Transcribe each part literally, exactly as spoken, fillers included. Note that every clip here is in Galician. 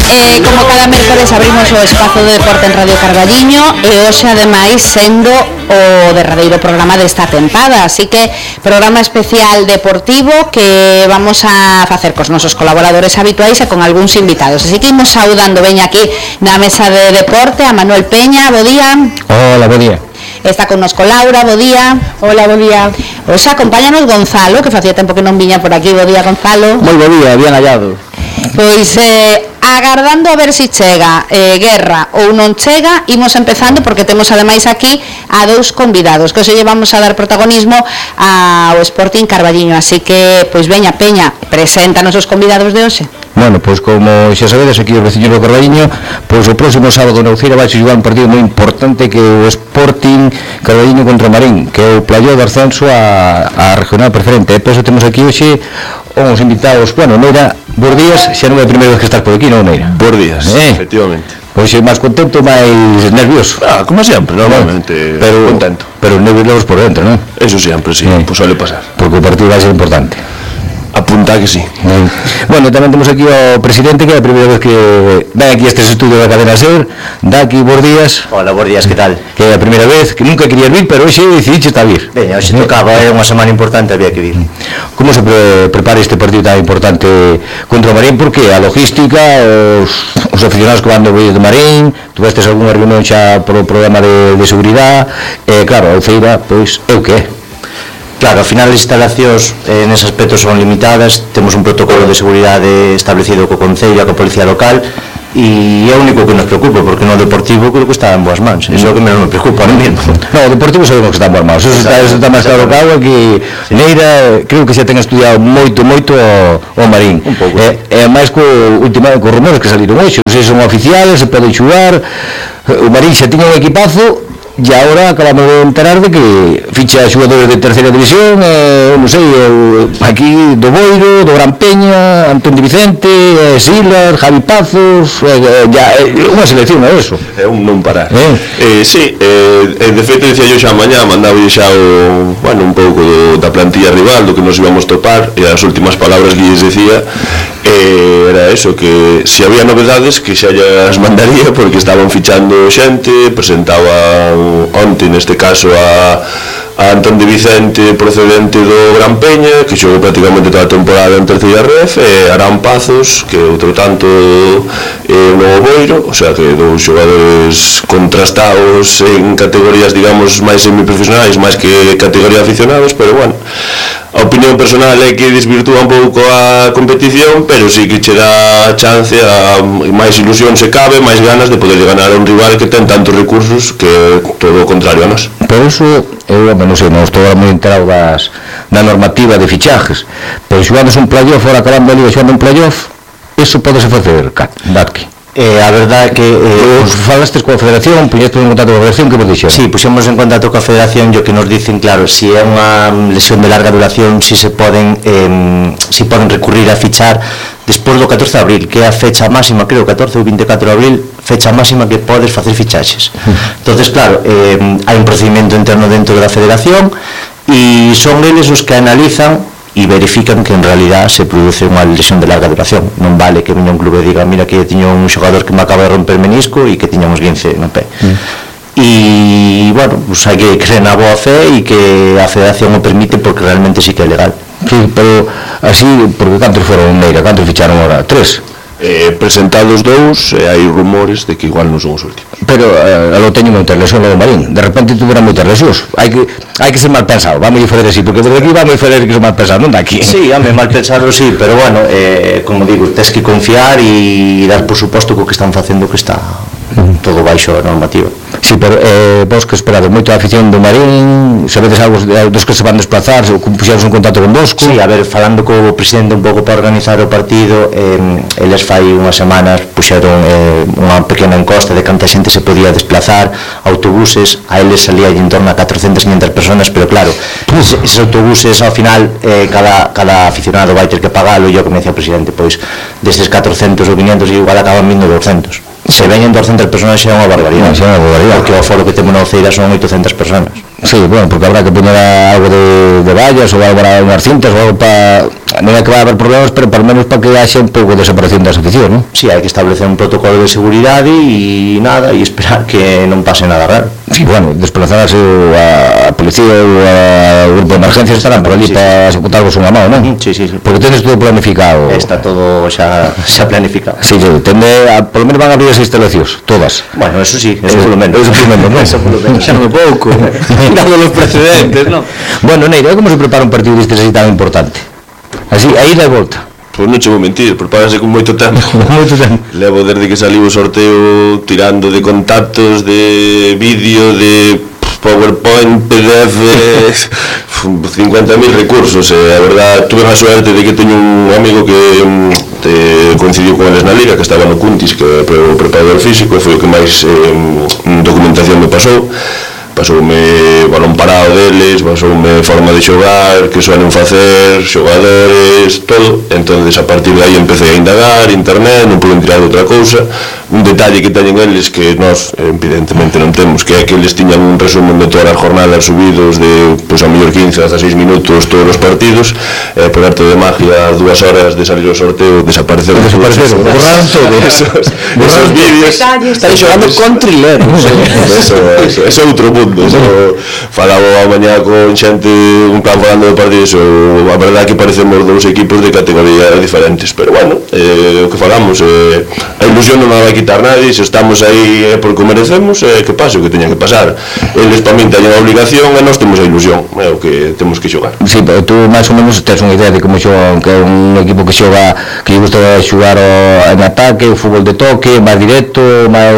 Eh, como cada mércoles abrimos o espazo de deporte en Radio Carballiño e hoxe ademais sendo o derradeiro programa desta tempada, así que programa especial deportivo que vamos a facer cos nosos colaboradores habituais e con algúns invitados, así que imos saudando veña aquí na mesa de deporte a Manuel Peña. Bo día. Hola, bo día. Está connosco Laura, bo día. Hola, bo día. Hoxe acompáñanos Gonzalo, que facía tempo que non viña por aquí. Bo día, Gonzalo. Moi bo día, bien hallado. Pois eh, agardando a ver se si chega eh, guerra ou non chega, imos empezando porque temos ademais aquí a dous convidados que hoxe llevamos a dar protagonismo ao Sporting Carballiño, así que, pois veña Peña, preséntanos os convidados de hoxe. Bueno, pois como xa sabedes aquí os veciños do Carballiño, pois o próximo sábado na Uceira vai xogar un partido moi importante que é o Sporting Carballiño contra o Marín, que é o playoff de ascenso a, a regional preferente. E por eso temos aquí hoxe uns invitados. Bueno, Neira, bons días, xa non é a primeira vez que estás por aquí, non, Neira? Bons días, eh? Efectivamente. Pois é máis contento, máis nervioso. Ah, como sempre, normalmente, pero, contento. Pero nerviosos por dentro, non? Eso sempre, sí, eh. Pues suele pasar. Porque o partido vai ser importante. Apunta que sí. Eh. Bueno, tamén temos aquí ao presidente, que é a primeira vez que ven aquí este estudio da cadena SER. Daqui, bons días. Hola, bons días, que tal? Que é a primeira vez, que nunca querías vir, pero hoxe decidiste a vir. Veña, hoxe tocaba, é unha semana importante, había que vir. Como se pre prepara este partido tan importante contra o Marín? Porque a logística, os, os aficionados que van do Vídeo de Marín, tuvestes algunha reunión xa por o programa de, de seguridade, e claro, a Uceira, pois, é o que é. Claro, ao final as instalacións eh, nese aspecto son limitadas, temos un protocolo de seguridade establecido co Concello, co Policía Local, e é o único que nos preocupa, porque no deportivo creo que está en boas mans, iso é o que menos me preocupa ahora mesmo. No, o deportivo sabemos que está en boas mans, eso está, eso está máis claro que agua, que sí. Neira, creo que xa ten estudiado moito, moito o, o Marín. Un pouco. E, e máis co, última, co rumores que saliron hoxe, se son oficiales, se poden xugar, o Marín xa tiña un equipazo, e agora acabamos de enterar de que ficha xogadores de terceira división, eh, non sei, eh, aquí do Boiro, do Gran Peña, Antón Di Vicente, eh, Silas, Javi Pazos, eh, ya, eh, unha selección é eso. É un non parar. Eh? Eh, sí, eh, de feito, dicía yo xa mañá, mandaba xa o, bueno, un pouco do, da plantilla rival, do que nos íbamos topar, e as últimas palabras que lles decía, eh, era eso, que se había novedades, que xa as mandaría, porque estaban fichando xente, presentaba onte neste caso a, a Antón Di Vicente procedente do Gran Peña, que xogou prácticamente toda a temporada en terceira ref, e Arán Pazos, que outro tanto é un novo Boiro, o sea que dous xogadores contrastados en categorías, digamos, máis semiprofesionais, máis que categoría aficionados, pero bueno, a opinión personal é que desvirtúa un pouco a competición, pero sí que che dá chance a máis ilusión se cabe, máis ganas de poder ganar a un rival que ten tantos recursos que todo o contrario a nós. Por eso, eu non sei, non estou moi enterado das, da normativa de fichajes, pero xogando un playoff, fora acabando a liga xogando un playoff, eso podese facer, Datki. Eh, a verdade é que eh, os falastes coa Federación, puñestes en contacto coa Federación, que vos dixeron? Sí, puxemos en contacto coa Federación, e o que nos dicen, claro, se si é unha lesión de larga duración, si se poden eh, si poden recurrir a fichar despois do catorce de abril, que é a fecha máxima, creo, catorce ou veinticuatro de abril, fecha máxima que podes facer fichaxes. Entonces, claro, eh, hai un procedimento interno dentro da Federación e son eles os que analizan e verifican que en realidad se produce unha lesión de larga duración. Non vale que veña un clube e diga, mira que tiño un xogador que me acaba de romper menisco e que tiña uns guince no pé. Mm. E, bueno, pues hai que creer na boa fe e que a Federación o permite porque realmente sí que é legal. Sí, pero así, porque cantos foron, Neira, cantos ficharon ahora? Tres? Eh, presentados dous, e hai rumores de que igual non son os últimos. Pero eh, alo teño moita lesión no Marín, de repente tuveran moitas lesións. Hai que hai que ser mal pensado, vamos a fazer así, porque desde aquí vamos a fazer que ser mal pensado, non daqui. Sí, home, mal pensado sí, pero bueno, eh, como digo, tens que confiar e dar por suposto co que están facendo que está todo baixo a normativa. Sí, pero eh, vos que esperades moito a afición do Marín, sabedes algo dos que se van desplazar, ou puxeros un contacto con vosco? Sí, a ver, falando co presidente un pouco para organizar o partido, eh, eles fai unhas semanas puxeron eh, unha pequena encosta de canta xente se podía desplazar, autobuses, a eles salía en torno a catrocentas, quinhentas personas, pero claro, eses, eses autobuses ao final eh, cada, cada aficionado vai ter que pagalo, e eu que me decía o presidente, pois destes catrocentos ou quinhentos igual acaban vindo doscientos. Se veñen doscientas personas xa é unha barbaridade, xa é unha barbaridade, porque o foro que temos na Uceira son oitocentas personas. Sí, bueno, porque habrá que poner algo de, de vallas ou algo para unhas cintas ou algo para... Non é que vai haber problemas, pero por menos para que haxa un pouco de separación das aficións, non? Sí, hai que establecer un protocolo de seguridade e nada, e esperar que non pase nada raro. Sí, bueno, desplazarase a, a policía ou a grupo de emergencias estarán por allí sí, para sí. Executarvos unha mão, non? Sí, sí, sí. Porque tenes todo planificado. Está todo xa, xa planificado. Sí, sí, tende a, por lo menos van a abrir as instalacións, todas. Bueno, eso sí, eso por lo menos. Eso por lo menos, non? Eso por lo menos. Xa non é pouco, dado los precedentes, non? Bueno, Neira, como se prepara un partido destes así tan importante? Así, aí da volta. Pois non che vou mentir, prepárase con moito tempo. Moito tempo. Levo desde que saliu o sorteo tirando de contactos, de vídeo, de PowerPoint, P D F, cincuenta mil recursos. E a verdad, tuve a suerte de que teño un amigo que te coincidiu con eles na Liga, que estaba no Cuntis, que é o preparador físico, e foi o que máis eh, documentación me pasou. Pasoume balón parado deles, pasoume forma de xogar, que suelen facer, xogadores, todo. Entonces a partir de aí empecé a indagar, internet, non pude tirar outra cousa. Un detalle que teñen eles que nós evidentemente non temos, que é que eles tiñan un resumen de todas as jornadas subidos de, pois, a mellor quince a seis minutos todos os partidos, e por arte de magia, as dúas horas de salir o sorteo desapareceron, desapareceron, borraron todo esos, esos vídeos. Están xogando con trileros. Eso, eso, eso é outro mundo. Eso, falaba a mañá con xente un plan falando de partidos, a verdade que parecemos dous equipos de categorías diferentes, pero bueno, eh, o que falamos, eh, a ilusión non a vai quitar nadie, se estamos aí é porque o merecemos, eh, que pase o que teña que pasar. Eles para min teñen a obligación e nós temos a ilusión, é o que temos que xogar. Sí, pero tú máis ou menos tens unha idea de como xoga, que é un equipo que xoga, que lle gusta xogar o, en ataque, o fútbol de toque, máis directo, máis,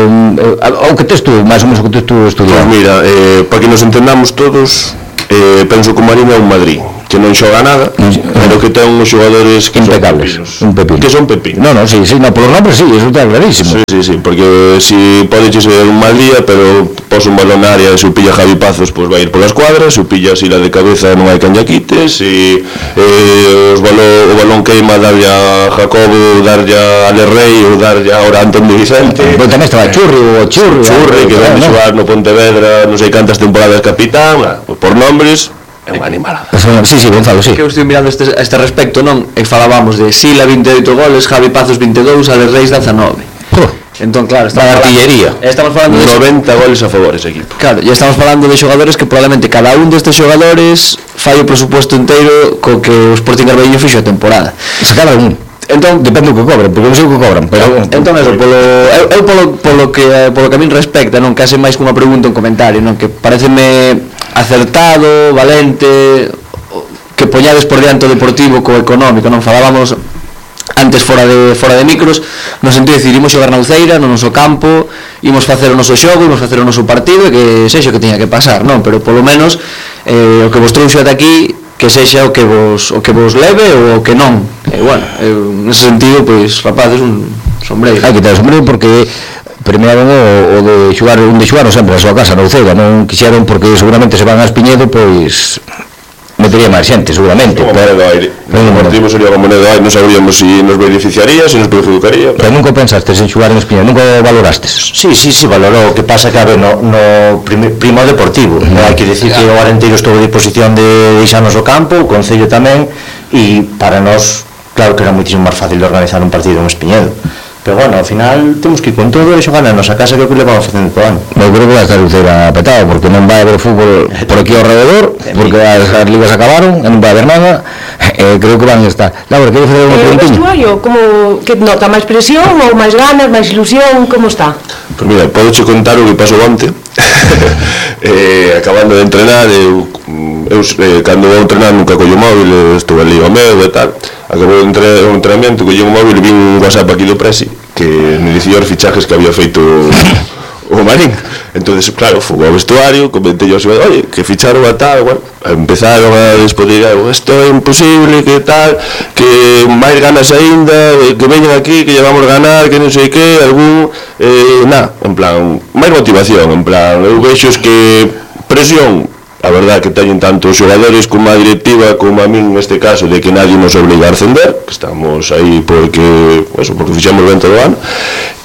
o que tes tú, máis ou menos o que tes tú estudiado. Pois mira, eh, para que nos entendamos todos, eh, penso que o Marín é un Madrid que non xoga nada, pero que ten uns xogadores que impecables, son un pepino. Que son pepinos. No, no, sí, sí, no, por los nombres sí, eso está clarísimo. Sí, sí, sí, porque si pode ser un mal día, pero pos un balón na área e se o pilla Javi Pazos, pois vai ir polas cuadras, se o pilla así la de cabeza non hai cañaquites, e eh, os balón, o balón queima darlle a Jacobo, darlle a Ale Rey ou darlle a Antón de Vicente. Pero tamén estaba Churri, o Churri, Churri, que ven de xogar no Pontevedra non sei cantas temporadas capitán, por nombres é unha animalada. Sí, sí, Gonzalo, sí. Que eu estou mirando este, a este respecto, non? E falábamos de Sila vinte e oito goles, Javi Pazos vinte e dous, Ale Reis dezanove. Oh. Entón, claro, estamos falando, artillería. Estamos falando de noventa goles a favor ese equipo. Claro, e estamos falando de xogadores que probablemente cada un destes xogadores fai o presupuesto inteiro co que o Sporting Carballiño fixo a temporada. Se cada un. Entón, depende do que cobren, porque non sei o que cobran, pero entón eso, polo eu, eu polo polo que polo que a min respecta, non case máis que unha pregunta un comentario, non, que pareceme acertado, valente, que poñades por diante o deportivo co económico, non falábamos antes fora de fora de micros, no sentido de decir, imos xogar na Uceira, no noso campo, imos facer o noso xogo, imos facer o noso partido e que sexa o que teña que pasar, non, pero polo menos eh, o que vos trouxo ata aquí que sexa o que vos o que vos leve ou o que non. E bueno, eu, nese sentido, pois, rapaces, un sombreiro. Hai que ter sombreiro porque premiaron o, o de xogar, un de xogaron sempre a súa casa na Uceira, non quixeron porque seguramente se van a Espiñedo, pois metería máis xente, seguramente. Como Monedo Aire. O deportivo sería como Monedo Aire, non sabríamos se nos beneficiaría, se nos perjudicaría. Pero nunca pensastes en xogar en Espiñedo, nunca valorastes? Sí, sí, sí, valorou. O que pasa que, a ver, no, no primo deportivo, no, hai que decir que o Arenteiro estou a disposición de deixarnos o campo, o Concello tamén, e para nós, claro que era muitísimo máis fácil de organizar un partido en Espiñedo. Pero bueno, ao final temos que ir con todo e xogar na nosa casa, que é o que le vamos facendo todo ano. Eu creo que vai estar Uceira petado, porque non vai haber fútbol por aquí ao rededor, porque as, as ligas acabaron, e non vai haber nada, e creo que van a estar. Laura, queres fazer unha preguntinha? O vestuario, como que nota máis presión ou máis ganas, máis ilusión, como está? Pois mira, podo che contar o que pasou onte. eh, acabando de entrenar, eu, eu eh, cando vou entrenar nunca collo móvil, estou ali ao medo e tal. Acabou o entrenamento, collí un móvil e vi un WhatsApp aquí do Presi que me dicía os fichajes que había feito o Marín. Entonces, claro, fui ao vestuario, comentei aos xogadores, oye, que ficharon a tal, bueno, empezaron a despodillar, isto é imposible, que tal, que máis ganas aínda, que veñen aquí, que llevamos ganar, que non sei que, algún, eh, na, en plan, máis motivación, en plan, eu vexo que presión a verdad que teñen tanto os xogadores como a directiva como a min neste caso de que nadie nos obliga a ascender, que estamos aí porque, eso, porque fixamos ben todo o ano.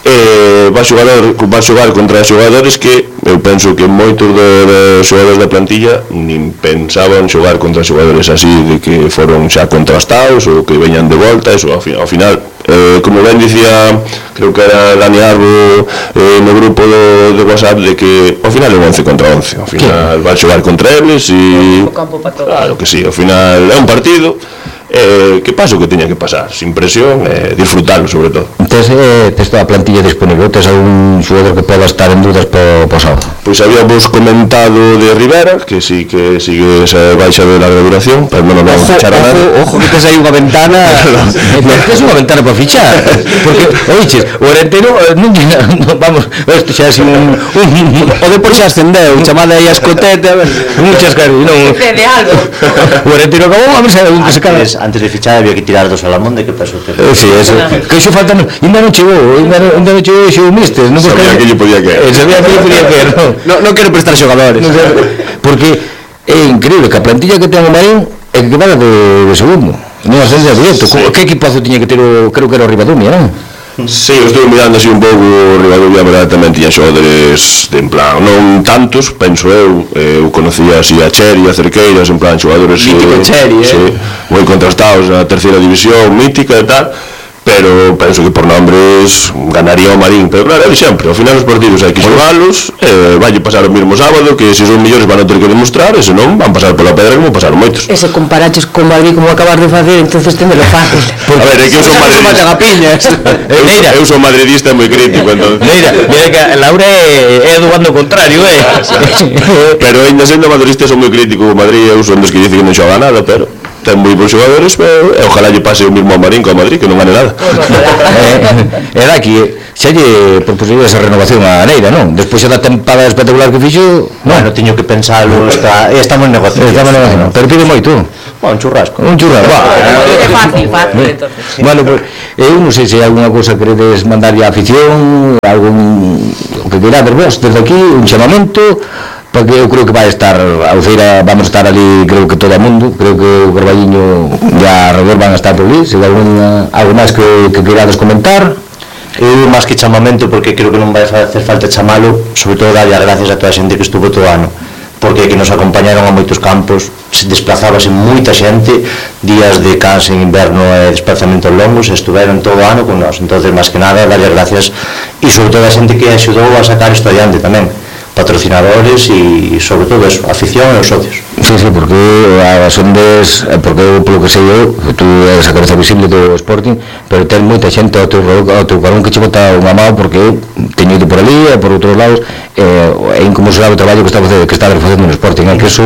Eh, va, xogador, va xogar contra xogadores que eu penso que moitos dos xogadores da plantilla nin pensaban xogar contra xogadores así de que foron xa contrastados ou que veñan de volta, eso ao, ao final eh, como ben dicía, creo que era Dani Arbo eh, no grupo do, de WhatsApp, de que ao final é un once contra once, ao final va xogar contra eles e claro que sí, ao final é un partido. Eh, que pasa o que teña que pasar, sin presión, eh, disfrutarlo sobre todo. Tes, eh, tes toda a plantilla disponible, tes algún xogador que poda estar en dudas po, po sábado? Pois habíamos comentado de Rivera, que sí que sigue esa baixa de larga duración, pero non nos vamos a fichar a nada. Ojo, que tes aí unha ventana, tes unha ventana para fichar, porque, oiches, o Orentero, non, non, vamos, isto xa é un, un, o Depor xa ascendeu, chamada aí a escoteta, muchas caras, non, de algo. O Orentero acabou, a ver se un que se cara. Antes de fichar había que tirar dos Salamonde, que pasou? Eh, sí, eso. Que iso falta, ainda non chegou, ainda non, ainda non chegou xo mister, non sabía que lle podía caer. Eh, sabía que lle podía caer, non. No, non quero prestar xogadores. No, porque é increíble que a plantilla que ten o Marín é que quedara de, de segundo. Non ascenso directo. Sí. Que equipazo tiña que ter o, creo que era o Ribadumia, non? Sí, eu estou mirando así un pouco o Ribadumia, verdade, tamén tiña xogadores de en plan, non tantos, penso eu, eh, eu conocía así a Cheri, a Cerqueiras, en plan xogadores mítico eh, Cheri, eh? Sí, moi contrastados na terceira división, mítica e tal, pero penso que por nombres ganaría o Marín, pero claro, é sempre, ao final os partidos hai que xogalos, eh, vai pasar o mesmo sábado, que se son millores van a ter que demostrar, e se non, van pasar pola pedra como pasaron moitos. E se comparaches con Madrid como acabas de facer, entonces tendelo fácil. A ver, é que eu son madridista. eu, eu son madridista moi crítico, entón. Mira, mira que a Laura é, é do bando contrario, eh. Pero ainda sendo madridista son moi crítico con Madrid, eu son dos que dicen que non xoga nada, pero ten moi bons xogadores, pero e ojalá lle pase o mismo a Marín co a Madrid, que non gane nada. É daqui, xa lle propusible esa renovación a Neira, non? Despois xa da tempada espectacular que fixo, non? Bueno, teño que pensarlo, está, estamos en negociación. Estamos en negociación, pero pide moito. Bueno, un churrasco. Un churrasco, va. É fácil, fácil, entonces. Bueno, pues, eu non sei se hai alguna cousa que queredes mandarlle a afición, algún, o que queirades vos, desde aquí, un chamamento, porque eu creo que vai estar a Uceira, vamos a estar ali, creo que todo o mundo, creo que o Carballiño e a Redor van a estar por ali, se hai alguna, algo máis que, que queirades comentar. Eu máis que chamamento, porque creo que non vai facer falta chamalo, sobre todo darlle as gracias a toda a xente que estuvo todo o ano, porque que nos acompañaron a moitos campos, se desplazábase moita xente, días de canse en inverno e desplazamentos longos, estuveron todo o ano con nós, entonces máis que nada darlle as gracias, e sobre todo a xente que axudou a sacar isto adiante tamén, patrocinadores e sobre todo eso, afición e os socios. Sí, sí, porque as ondes, porque eu, polo que sei eu, tú eres a cabeza visible do Sporting, pero ten moita xente ao teu, ao teu carón que che bota unha mão, porque eu teño ido por ali e por outros lados, é inconmensurable o traballo que está facendo, que está facendo no Sporting, é que eso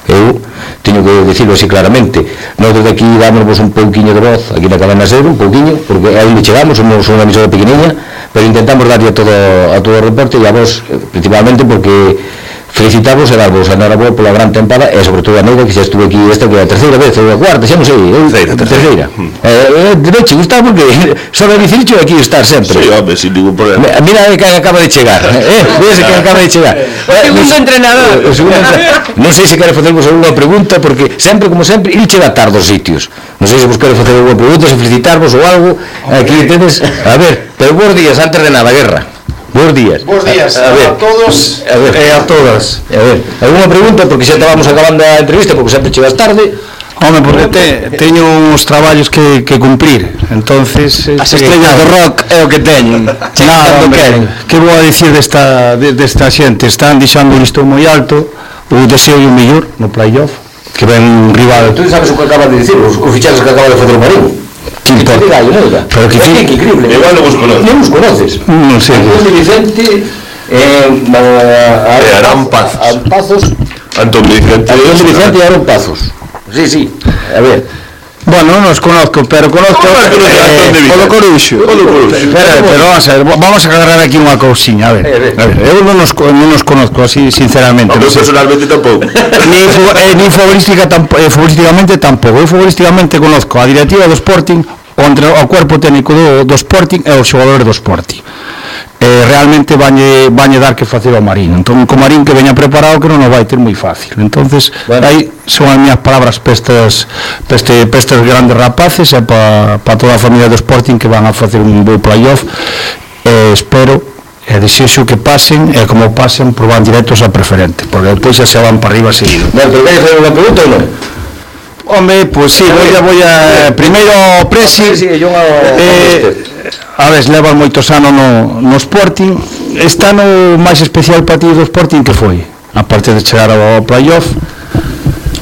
eu teño que dicirlo así claramente. Nós desde aquí dámonos un pouquiño de voz aquí na Cadena Ser, un pouquiño, porque é onde chegamos, somos unha emisora pequeniña, pero intentamos darlle a todo, a todo o reporte e a vos, principalmente porque felicitamos e darvos a enhoraboa pola gran tempada e sobre todo a Neira, que xa estuve aquí esta que é a terceira vez ou a cuarta, xa non sei, eu, terceira, terceira. Eh, eh, che gusta porque só a dicircho aquí estar sempre. Sí, home, sin ningún problema. Mira que acaba de chegar, eh, mira que acaba de chegar. O segundo entrenador. O segundo entrenador. Non sei se quere facervos algunha pregunta, porque sempre, como sempre, il che dá tarde aos sitios. Non sei se vos quere facer algunha pregunta, se felicitarvos ou algo, aquí tedes, a ver, pero bons días, antes de nada, Guerra. Bos días. Bos días a, a, ver, a todos a ver, e a todas. A ver, alguna pregunta, porque xa estábamos acabando a entrevista, porque sempre chegas tarde. Home, porque te, teño uns traballos que, que cumprir. Entonces, as estrellas do rock é o que teñen. Nada, hombre, que vou a dicir desta, de, desta xente? Están deixando o listón moi alto, o deseo e o mellor no playoff, que ven un rival. Tú sabes o que acabas de dicir, os, os fichajes que acaba de facer o Marín. Que importa? Pero que é increíble. Igual non vos conoces. Non vos conoces. Non sei. Antón de Vicente, eh, a Arán Pazos. Antón de Vicente. Antón de Vicente e Arán Pazos. Sí, sí. A ver. Bueno, non os conozco, pero conozco eh, o do Coruxo. Pero, pero vamos a ver, vamos a agarrar aquí unha cousiña, a ver. A ver, eu non os, non os conozco así sinceramente. Eu personalmente tampouco. Ni, eh, ni futbolística tampo, eh, futbolísticamente tampouco. Eu futbolísticamente conozco a directiva do Sporting, o, entre, o cuerpo técnico do, do Sporting e os xogadores do Sporting. eh, realmente vañe, vañe dar que facer ao Marín. Entón, co Marín que veña preparado que non nos vai ter moi fácil. Entonces, bueno, aí son as miñas palabras pestas peste, pestes grandes rapaces e para pa toda a familia do Sporting que van a facer un bo playoff. Eh, espero e desexo que pasen e como pasen proban directos a preferente, porque despois xa se van para arriba seguido. Bueno, pero queres fazer unha pregunta ou non? Home, pois pues, sí, voy a, voy a primeiro Presi, eh, a ver, levan moitos anos no, no Sporting. Este ano máis especial para ti do Sporting que foi? A parte de chegar ao playoff.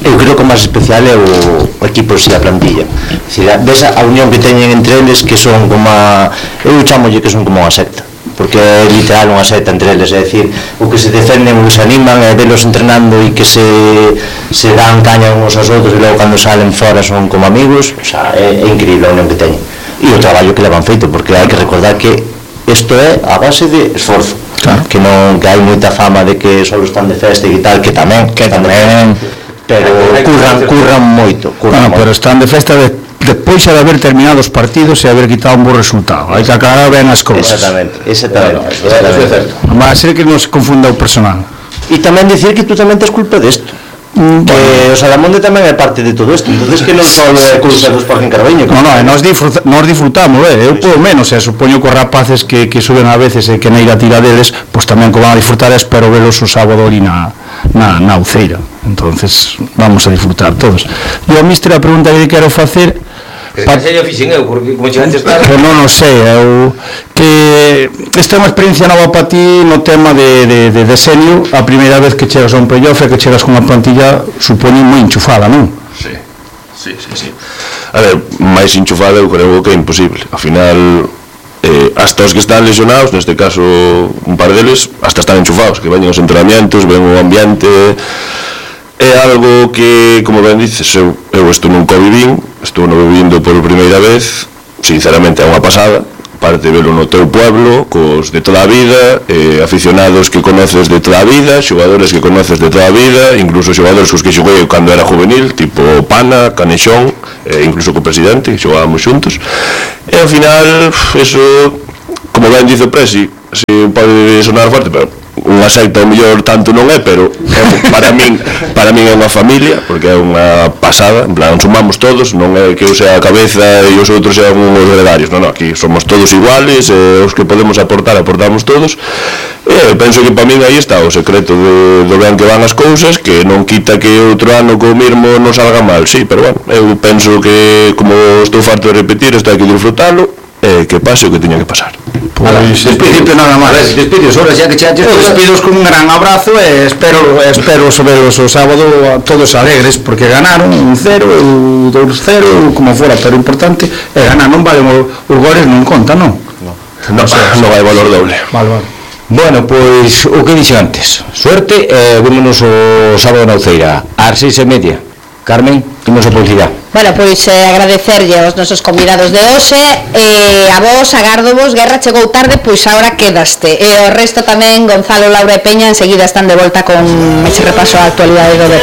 Eu creo que o máis especial é o, o equipo e a plantilla. Decir, ves a unión que teñen entre eles que son como a, eu chamolle que son como unha secta, porque é literal unha secta entre eles, é dicir, o que se defenden, o que se animan, é velos entrenando e que se, se dan caña uns aos outros e logo cando salen fora son como amigos. O sea, é, é increíble a unión que teñen e o traballo que levan feito, porque hai que recordar que isto é a base de esforzo, claro. Que non, que hai moita fama de que só están de festa e tal, que tamén, que tamén, pero curran, curran moito, curran bueno, moito. Pero están de festa de despois de haber terminado os partidos e haber quitado un bo resultado. Hai que aclarar ben as cousas. Exactamente, exactamente, Bueno, exactamente. Non vai a ser que non se confunda o personal. E tamén dicir que tú tamén tes culpa desto, mm, que bueno, o Salamonde tamén é parte de todo isto, entonces que non só é culpa do Sporting Carballiño. Non, non, nós, disfruta, nós disfrutamos, eh, eu polo menos, e supoño que os rapaces que, que suben a veces e que neira tira deles, pois tamén que van a disfrutar, espero velos o sábado ali na, na, na Uceira. Entonces vamos a disfrutar todos. E a míster a pregunta que quero facer, Pa... Que se fixen eu, porque como che antes estaba... Pues non o sei, eu... Que esta é unha experiencia nova para ti no tema de, de, de deseño. A primeira vez que chegas a un playoff e que chegas con unha plantilla, supoño, moi enchufada, non? Sí, sí, sí, sí. A ver, máis enchufada eu creo que é imposible. Ao final, eh, hasta os que están lesionados, neste caso un par deles, hasta están enchufados, que veñen os entrenamientos, ven o ambiente... É algo que, como ben dices, eu, eu isto nunca o vivín, estou no vivindo por primeira vez, sinceramente é unha pasada, parte de velo no teu pueblo, cos de toda a vida, eh, aficionados que conoces de toda a vida, xogadores que conoces de toda a vida, incluso xogadores cos que xoguei cando era juvenil, tipo Pana, Canexón, eh, incluso co presidente, que xogábamos xuntos, e ao final, eso, como ben dice o Presi, si pode sonar forte, pero unha secta ao mellor tanto non é, pero é, para min para min é unha familia, porque é unha pasada, en plan, sumamos todos, non é que eu sea a cabeza e os outros sean uns gregarios, non, non, aquí somos todos iguales, e os que podemos aportar, aportamos todos, e penso que para min aí está o secreto de, do ben que van as cousas, que non quita que outro ano co mismo non salga mal, sí, pero bueno, eu penso que, como estou farto de repetir, isto hai que disfrutalo, e que pase o que tiña que pasar. Pois, despídete nada máis. Despidos, ahora xa que che antes. Despidos con un gran abrazo e espero espero soberos o sábado a todos alegres porque ganaron un cero, un dos cero, como fora, pero o importante é ganar, non vale os goles non conta, non? Non, non, non vai valor doble. Vale, vale. Bueno, pois o que dixo antes, suerte e eh, vémonos o sábado na Uceira ás seis e media. Carmen, imos a publicidade. Bueno, pois eh, agradecerlle aos nosos convidados de hoxe, e eh, a vos, agardo vos, Guerra chegou tarde, pois agora quedaste, e o resto tamén, Gonzalo, Laura e Peña, enseguida están de volta con ese repaso á actualidade do deporte.